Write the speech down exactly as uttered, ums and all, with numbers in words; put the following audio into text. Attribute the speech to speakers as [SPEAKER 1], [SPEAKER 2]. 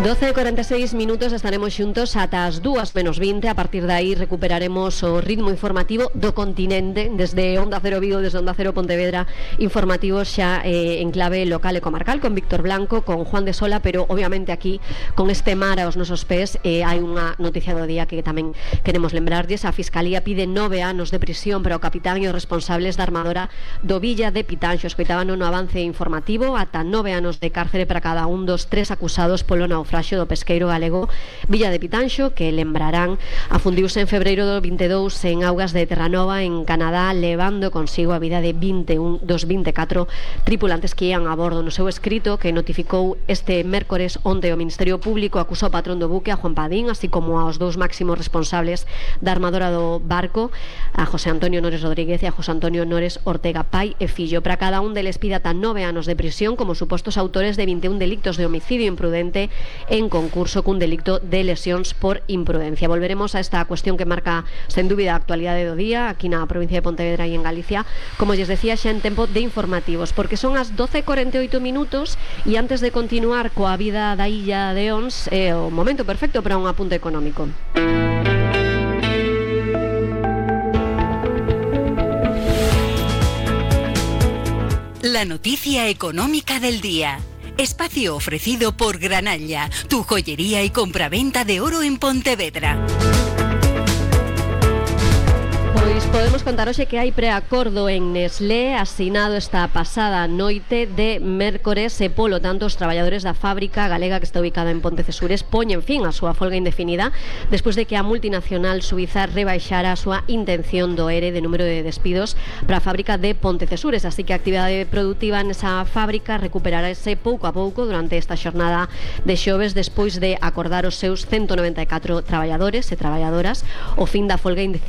[SPEAKER 1] doce e cuarenta e seis minutos, estaremos xuntos ata as dúas menos vinte. A partir de aí recuperaremos o ritmo informativo do continente desde Onda Cero Vigo, desde Onda Cero Pontevedra, informativos xa eh, en clave local e comarcal, con Víctor Blanco, con Juan de Sola, pero obviamente aquí con este mar aos nosos pés eh, hai unha noticia do día que tamén queremos lembrarlles. A Fiscalía pide nove anos de prisión para o capitán e os responsables da armadora do Villa de Pitanxo. Escoitaban no avance informativo, ata nove anos de cárcere para cada un dos tres acusados polo naufraxio do pesqueiro galego Villa de Pitanxo, que lembrarán afundiuse en febreiro do vinte e dous en augas de Terranova, en Canadá, levando consigo a vida de vinte e un dos vinte e catro tripulantes que ian a bordo. No seu escrito que notificou este mércores onte o Ministerio Público acusou o patrón do buque, a Juan Padín, así como aos dous máximos responsables da armadora do barco, a José Antonio Nores Rodríguez e a José Antonio Nores Ortega, pai e fillo. Para cada un deles pide ata nove anos de prisión como supostos autores de vinte e un delictos de homicidio imprudente en concurso cun delicto de lesións por imprudencia. Volveremos a esta cuestión que marca sen dúbida a actualidade do día aquí na provincia de Pontevedra e en Galicia, como lles decía, xa en tempo de informativos, porque son as doce e cuarenta e oito minutos e antes de continuar coa vida da illa de Ons é o momento perfecto para un apunte económico.
[SPEAKER 2] La noticia económica del día. Espacio ofrecido por Granalla, tu joyería y compraventa de oro en Pontevedra.
[SPEAKER 1] Pois podemos contar hoxe que hai preacordo en Nestlé asinado esta pasada noite de mércores e polo tanto os traballadores da fábrica galega que está ubicada en Pontecesures poñen fin á súa folga indefinida despois de que a multinacional suiza rebaixara a súa intención do E R E de número de despidos para a fábrica de Pontecesures, así que a actividade productiva nesa fábrica recuperarase pouco a pouco durante esta xornada de xoves despois de acordar os seus ciento noventa e catro traballadores e traballadoras o fin da folga indefinida